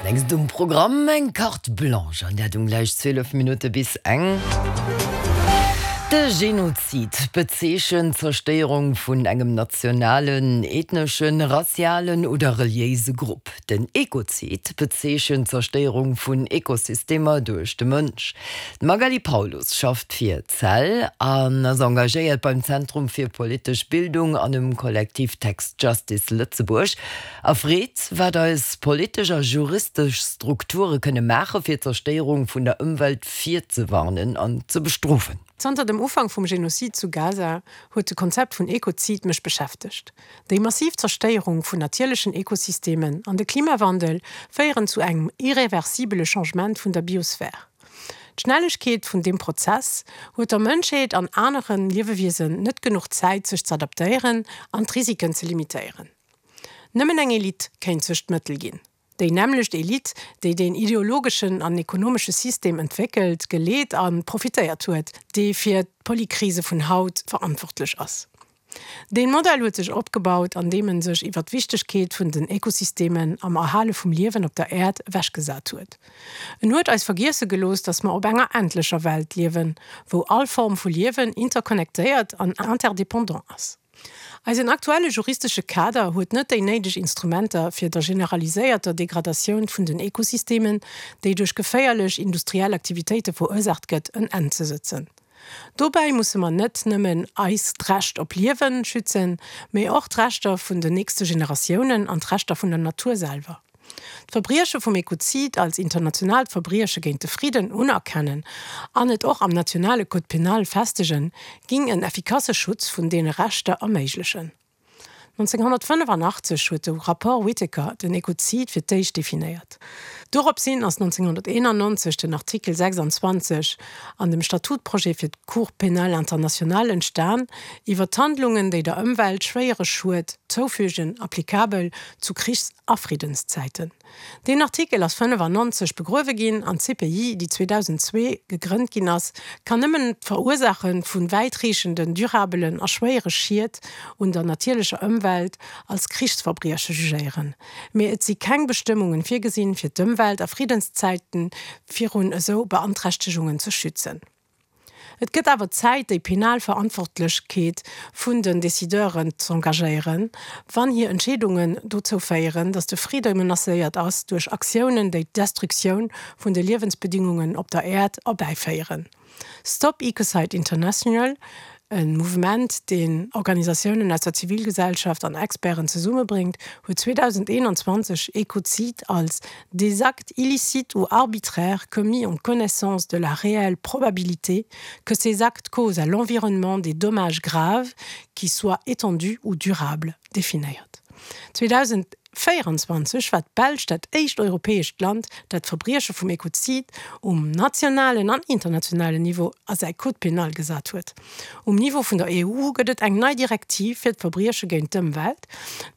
Als nächst um Programm eng Carte Blanche, an dat um gläich 12 Minutte bis eng. De Genozid bezeechent d'Zerstéierung vun engem nationalen, ethneschen, rassialen oder reliéise Grupp. Den Ekozid bezeechent d'Zerstéierung vun Ekosystemer duerch de Mënsch. D'Magali Paulus schafft fir cell an ass engagéiert beim Zentrum fir politesch Bildung an um Kollektiv Tax Justice Lëtzebuerg a freet, wat eis politesch a juristesch Strukture kënne maache fir d'Zerstéierung vun der Ëmwelt virzewarnen an ze bestrofen. Zanter dem Ufank vum Genozid zu Gaza huet de Konzept vun Ekozid mech beschäftegt. Déi massiv Zerstéierung vun natierlechen Ekosystemen an de Klimawandel féieren zu engem irreversibele Changement vun der Biosphär. D'Schnellegkeet vun deem Prozess huet der Mënschheet an anere Liewewiesen net genuch Zäit sech z'adaptéieren an d'Risiken ze limitéieren. Nëmmen eng Elite kéint sech d'Mëttel ginn. Déi nämmlecht Elite, déi deen ideologeschen an ekonomesche System entwéckelt, geleet a profitéiert huet, dee fir d'Polykrise vun haut verantwortlech ass. Deen Modell huet sech opgebaut, an deem en sech iwwer d'Wichtegkeet vun den Ekosystemen am Erhale vum Liewen op der Äerd ewechgesat huet. En huet eis vergiesse gelooss, dass mer op enger endlecher Welt liewen, wou all Form vu Liewen interconnectéiert an interdépendant ass. Eisen aktuelle juristesche Kader huet net déi néideg Instrumenter, fir der generaliséierter Degradatioun vun den Ekosystemen, déi duerch geféierlech industriell Aktivitéite verursaacht gëtt, en Enn ze sëtzen. Dobäi musse mer net nëmmen eist Recht op Liewen schützen, mee och d'Rechter vun den nächste Generatiounen an d'Rechter vun der Natur selwer. D'Verbrieche vum Ekozid als internationaalt Verbrieche géint de Fridden unerkennen an et och am nationale Code pénal festegen, ging en effikasse Schutz vun deene Rechter erméiglechen. 1985 huet de Rapport Whitaker den Ekozid fir d'éischt definéiert. Doropshin ass 1991 den Artikel 26 an dem Statutprojet fir d'Cour pénale internationale entstan, iwwer d'Handlungen, déi der Ëmwelt schwéiere Schued zoufügen, applikabel zu Krichs a Friddenszäiten. Deen Artikel ass 95 begruewe ginn an d'CPI, déi 2002 gegrënnt ginn ass, kann nëmmen d'Verursaache vu wäitreechenden, durabelen a schwéiere Schied un der natierlecher Ëmwelt als Krichsverbrieche jugéieren. Mee et si keng Bestëmmungen virgesinn, fir d'Ëmwelt a Friddenszäiten virun esou Beanträchtegungen ze schützen. Et gëtt awer Zäit, déi penal Verantwortlechkeet vun den Decideuren z'engagéieren, wann hir Entscheedungen dozou féieren, datt de Fridde menacéiert ass duerch Aktiounen, déi d'Destruktioun vun de Liewensbedingungen op der Äerd erbäiféieren. Stop Ecocide International, e Mouvement, deen Organisatiounen aus der Zivilgesellschaft an Experten zesummebréngt, huet 2021 Ekozid als des actes illicites ou arbitraires commis en connaissance de la réelle probabilité que ces actes causent à l'environnement des dommages graves qui soient étendus ou durables definéiert. 2024 war d'Belsch dat éischt europäescht Land, dat d'Verbrieche vum Ekozid um nationalen an internationalen Niveau a säi Code pénal gesat huet. Um Niveau vun der EU gëtt et eng nei Direktiv fir d'Verbrieche géint d'Ëmwelt,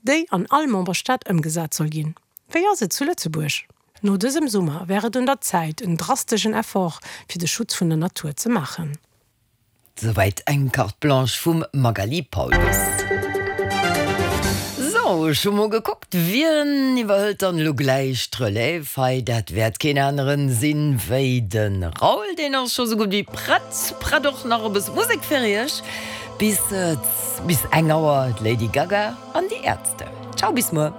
déi an all Memberstaat ëmgesat soll ginn. Wéi ass et zu Lëtzebuerg? No dësem Summer wär et un der Zäit, en drasteschen Effort fir de Schutz vun der Natur ze maachen. Souwäit eng Carte Blanche vum Magali Paulus. Sou, ech hu mol gekuckt, wien iwwerhëlt dann elo gläich d'Relève hei? Dat wäert keen aneren sinn wéi de Raoul, deen ass scho sou gutt wéi prett. Prett och nach e bësse Musek fir iech bis bis eng Auer, d'Lady Gaga an déi Ärzte. Ciao, bis muer.